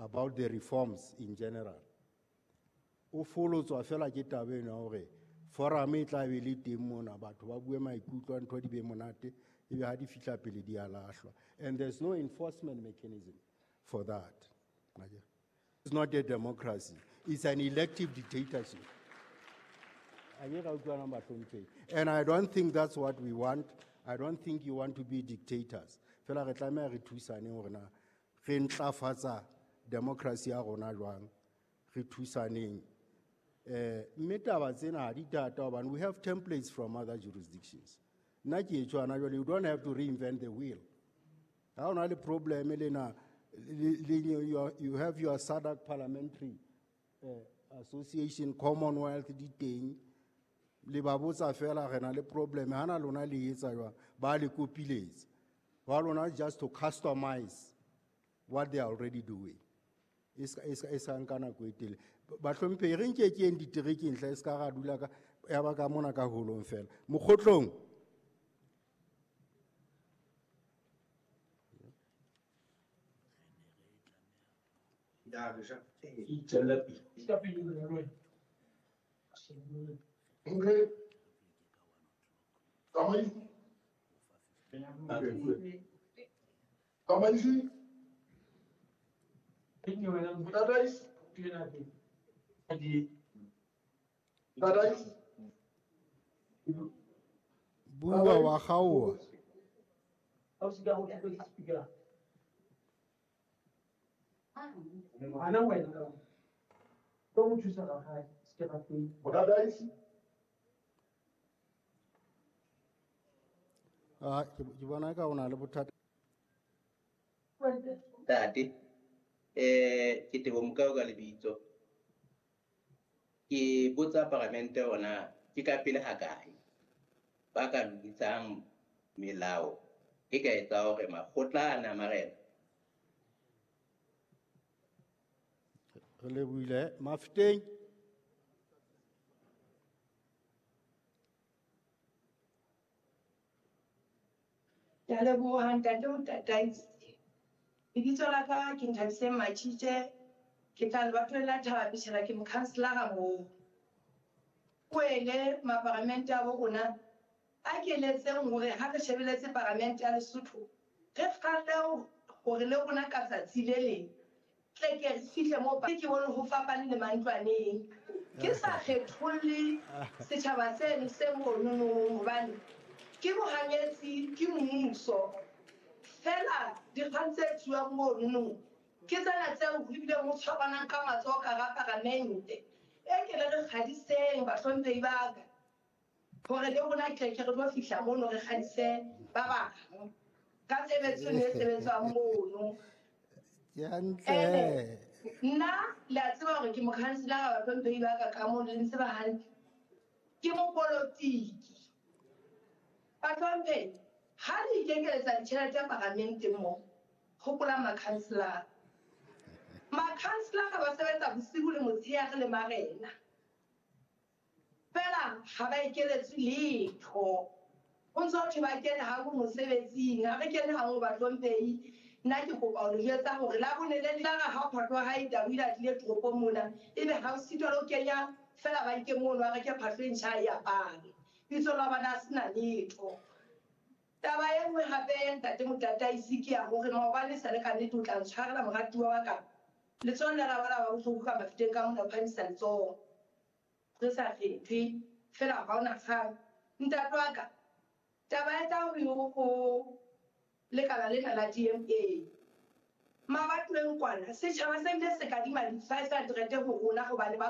about the reforms in general. O folotswa fela ke taba eno ya hore forum e tla be le teng mona, batho ba bue maikutlo a ntho di be monate, ebe ha di fihla pele di a lahlwa. And there's no enforcement mechanism for that. It's not a democracy. It's an elective dictatorship. And I don't think that's what we want. I don't think you want to be dictators. Fela re tlameha re thusane hore na re ntlafatsa democracy ya rona jwang, re thusaneng. Mme taba tsena ha di thata hobane we have templates from other jurisdictions. Nna ke e tshwana jwale, you don't have to reinvent the wheel. Ha o na le problem le na, you have your SADC Parliamentary Association, Commonwealth di teng. Le ba botsa fela re na le problem, ha na lona le etsa jwang, ba le kopiletsa. Ba lona just to customize what they are already doing. E ska nka nako e telele. Bahlomphehi, re nke ke eng diterekeng hle, e ska ra dula ka, ya ba ka mona ka holong fela. Mokgotlong. Bua wa gaoa. Ah, ke bona ka o na le bothata. Ntate, ke Teboho Mokau ka lebitso. Ke botsa paramente hore ke ka pele ha kae ba ka lokisang melao e ka etsa hore makgotla ana a marena. Re lebohile. Mafeteng. Ke a leboha ntate Motataisi. Lebitso la ka ke Nthabiseng Matjitje, ke tla lebatoweng la Thaba Peshela, ke mokhanselara moo. Kwele maparamente a bo rona a keletseng hore ha re shebeletse paramente ya Lesotho, re kgalle hore le rona ka tsatsi le leng tle ke re fihle moo ke bone ho fapane le mantlwaneng. Ke sa kgetholle setjhaba seno se monono hobane ke bohanyetsi, ke mmuso. Fela dikgang tse tsuwang monono ke tsena tseo ho bileng ho tshwaranang ka matsoho ka hara paramente. E ke le re kgadiseng bahlomphehi ba ka hore le rona tle ke re tlo fihla mono re kgadise ba bang ka tshebetso e sebetswang mono. Ke hantle. Nna le a tseba hore ke mokhanselara wa bahlomphehi ba ka ka mono, le ntseba hantle. Ke mopolotiki. Bahlomphehi, ha le ikekeletsa ditjhelete paramenteng mo, hopola makhanselara. Makhanselara ba sebetsa bosiu le motshehare le marena. Fela ha ba ekeletswe letho. Ho ntso ho thwe ba kene ha bo mosebetsing, ha re kene ha ho bahlomphehi. Nna ke kopa ho le jwetsa hore la bone le tla ra ha phahlo ya hae tau ile a tlile toropong mona, ebe ha o sitwa le ho kenya fela bankeng mono, a reke phahlo e ntjha a e apare. Bitso la bana a sena letho. Taba e nngwe hape ntate Motataisi ke ya hore maobane sa le ka nnete o tla ntshwarela moratuwa wa ka. Letsoho le la ba la ba bohloko ka mafeteng ka mona, o phamisa letsoho. Re sa kgethwe, fela ha hona kgang. Ntate wa ka, taba e tla ho ho lekala lena la DMA. Mabatoweng kwana, setjhaba se bile se kadima di-500 ho rona hobane ba